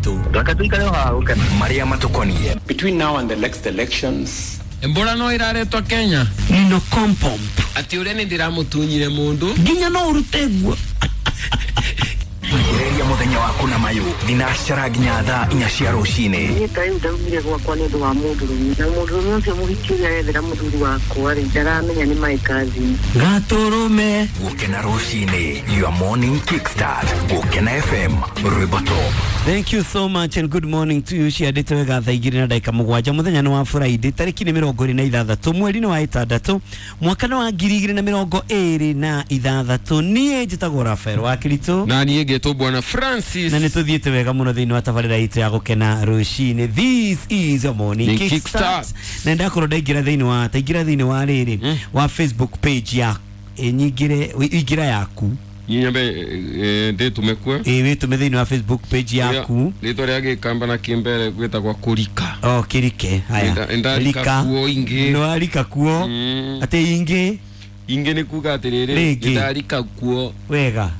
Kiritũ. Reke tuikare o haha gũkena. Marĩa matũkoniĩ. Between now and the next elections, Ebola no iraretwo Kenya. Nino kompomp. Ati uria ni ndiramutunyire mundu. Nginya no urute nguo. Ambĩrĩria mũthenya waku na mayũ thinacara nginya thaa 4 cia rũcinĩ. Niĩ ta rĩu ndaumire gwakwa nĩ ũndũ wa mũndũrũme na mũndũrũme ũcio mũhiki ũrĩa arethera mũthuri wakwa rĩ, ndaramenya nĩ my cousin. Gatũrũme. Gũkena rũcinĩ, your morning kickstart. Gũkena FM, rwĩmbo top. Thank you so much and good morning to you. Ciandĩte wega thaa 2:07 mũthenya nĩ wa Friday tarĩki nĩ 26 mweri nĩ wa 6 mwaka nĩ wa 2026. Niĩ njĩtagwo Rafael wa Kiritũ Na niĩ ngetwo Bwana Francis. na nĩ tũthiĩte wega mũno thĩinĩ wa tabarĩra itũ ya gũkena rũcinĩ. This is your morning Ni kickstart. kickstart. Na ndakorwo ndaingĩra thĩinĩ wa taingĩra thĩinĩ wa rĩrĩ wa Facebook page ya nyingĩre ingĩra yaku. Nyambe ndĩtũme kuo. Ĩ wĩtũme thĩinĩ wa Facebook page yaku. Rĩtwa rĩa gĩkamba na kĩmbere gwĩtagwo kũrika. O kĩrike haya. Ndarika kuo ingĩ. Nĩwarika kuo. Atĩ ingĩ. Ingĩ nĩ kuga atĩrĩrĩ, Rĩngĩ. ndarika kuo. Wega.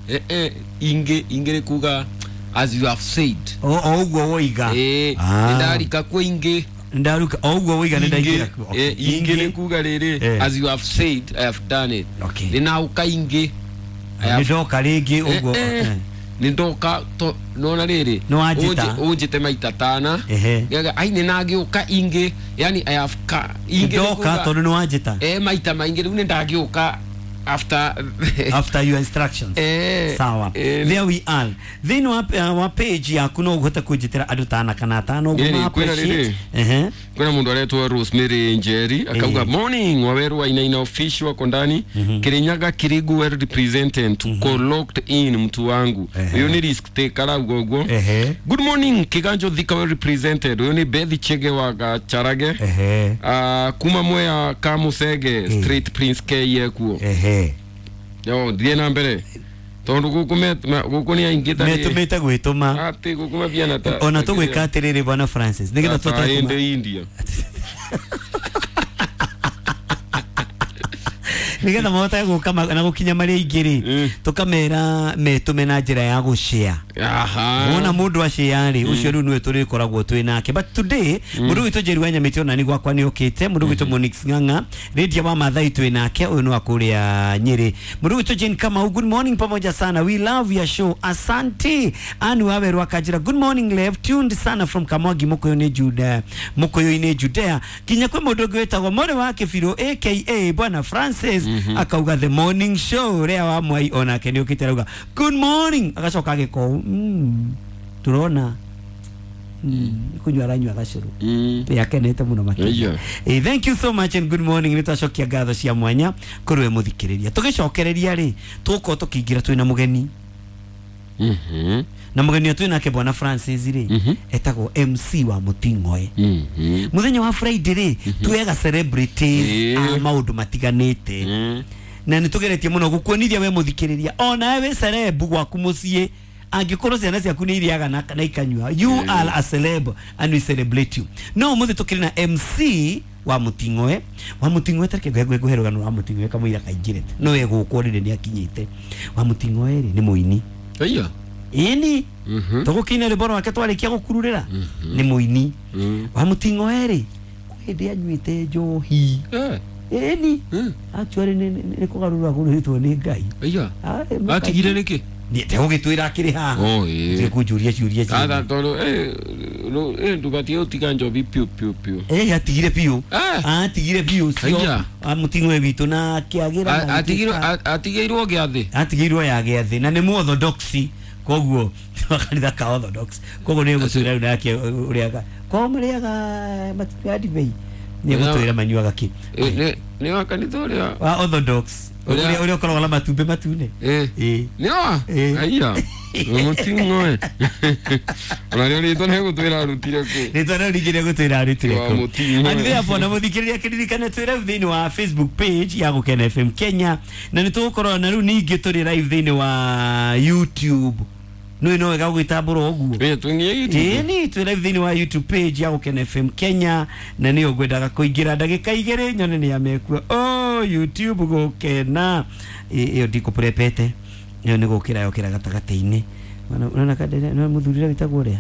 Ingĩ ingĩ nĩ kuga as you have said. O o ũguo woiga. Ah. Ndarika kuo ingĩ. Ndaruka o ũguo woiga nĩ ndaingĩra kuo. Okay. Ingĩ nĩ kuga rĩrĩ, as you have said I have done it. Okay. Nĩnauka ingĩ. I Nĩ have ndoka rĩngĩ ũguo. Nĩ ndoka nona rĩrĩ Nĩwanjĩta. ũnjĩte maita tana. Ehe. Ngauga, ai nĩnagĩũka ingĩ, yani I have ka ingĩ nĩ Ndoka kuga- tondũ nĩ wanjĩta. Maita maingĩ rĩu nĩndagĩũka after After your instructions. Sawa. There we are. Thĩinĩ wa page yaku no ũhote kũnjĩtĩra andũ tana kana atano ũguo Ĩĩ, ma kwĩna appreciate. rĩrĩ. Ehe. Kuna mundu aretwo Rosemary Njeri akauga morning waweru wa Inaina official wako ndani. Kirinyaga Kirigu well represented tuko locked in mtu wangu. Uyu ni risk taker arauga ũguo. Good morning Kiganjo Thika well represented. Uyu ni Bethi Chege wa Gacharage. Kuma Mwea Kamusege Street Prince K yekuo. Yo thiĩ na mbere tondu guku guku ni aingĩ ta Metũmĩte gwĩtũma. atĩ guku mabiana ta Ona tũgwĩka atĩrĩrĩ Bwana Francis nĩgetha ta tũhote ĩndĩ India. Nĩgetha mahote gũka na gũkinya marĩa aingĩ rĩ, tũkamera metũme na njĩra ya gũshare. Wona mũndũ ashare rĩ, ũcio rĩu nĩwe tũrĩkoragwo twĩ nake. But today mũndũ witũ Njeri wa Nyamĩtĩ ona nĩ gwakwa nĩ okĩte, mũndũ witũ Monix Ng'ang'a, Lydia wa Mathai twĩ nake, ũyũ nĩ wa kũrĩa Nyĩrĩ. Mũndũ witũ Jane Kamau, good morning pamoja sana, we love your show, asante. Anne Waweru akanjĩra good morning Lev, tuned sana from Kamwangi Mũkũyũ-inĩ Juda, Mũkũyũ-inĩ Judea. Nginya kwĩ mũndũ ũngĩ wĩtagwo More wa Kĩbirũ aka Bwana Francis akauga the morning show rĩa wa Mwai onake nĩ okĩte arauga good morning, agacoka agĩko turona kunywa aranyua gacũrũ. Yakenete mũno makĩria. Thank you so much and good morning. Nĩ twacokia ngatho cia mwanya kũrĩ we mũthikĩrĩria. Tũgĩcokereria rĩ, tũgũkorwo tũkĩingĩra twĩna mũgeni. Na mũgeni ũyũ twĩ nake Bwana Francis rĩ, etagwo MC wa Mũting'oe. Mũthenya wa Friday rĩ, tuoyaga celebrities a maũndũ matiganĩte. Na nĩ tũgeretie mũno gũkuonithia we mũthikĩrĩria onawe wĩ celeb gwaku mũciĩ, angĩkorwo ciana ciaku nĩ irĩaga na ikanyua, you are a celeb and we celebrate you. No ũmũthĩ tũkĩrĩ na MC wa Mũting'oe. Wa Mũting'oe tareke ngũhe rũgano rwa Mũting'oe kamũira kaingĩre no we gũkũ rĩrĩ nĩ akinyĩte. Wa Mũting'oe rĩ nĩ mũini. Ĩya. Ĩni tũgũkĩina rwĩmbo rwake twarĩkia gũkururĩra nĩ mũini. Wa Mũting'oe rĩ kwĩ hĩndĩ anyuĩte njohi. Ĩni actually nĩ kũgarũrwo agũrũrĩtwo nĩ Ngai. Ĩya. Atigire nĩkĩ? Nĩ ndegũgĩtwĩra akĩrĩ haha. Ndĩkũnjũria ciũria ciothe. Atha tondũ ndũgatige gũtiga njohi piũ piũ piũ. Atigire piũ. Atigire piũ ũcio. Mũting'oe witũ na akĩagĩra na agĩtuĩka- Atigĩirwo gĩathĩ. Atigĩirwo ya gĩathĩ na nĩ mũorthodox koguo wa kanitha ka orthodox koguo nĩ gũtwĩra rĩu nake ũrĩa kwao marĩaga matinyuaga ndibei nĩ gũtwĩra manyuaga kĩ. Nĩ wa kanitha ũrĩa wa orthodox ũrĩa ũkoragwo na matumbĩ matune. Nĩ wa? Aya. Mũting'oe. Ona rĩo rĩtwa nĩ gũtwĩra arutire kũ. Rĩtwa rĩu ningĩ nĩ gũtwĩra arutire Wa kũ. Mũting'oe. And therefore na mũthikĩrĩria kĩririkane twĩ live thĩinĩ wa Facebook page ya Gũkena FM Kenya na nĩ tũgũkorwo na rĩu ningĩ tũrĩ live thĩinĩ wa YouTube. Nĩ no wega gũgĩtambũra ũguo. Twĩnginya YouTube. Ĩni twĩ live thĩinĩ wa YouTube page ya Gũkena FM Kenya na nĩyo ngwendaga kũingĩra ndagĩka 2 nyone nĩ amekuo. Oh, YouTube Gũkena. Ĩyo ndikũprepete. Ĩyo nĩ gũkĩra yokĩra gatagatĩ-inĩ. Unaona kadere na mũthuri ũrĩa wĩtagwo ũrĩa?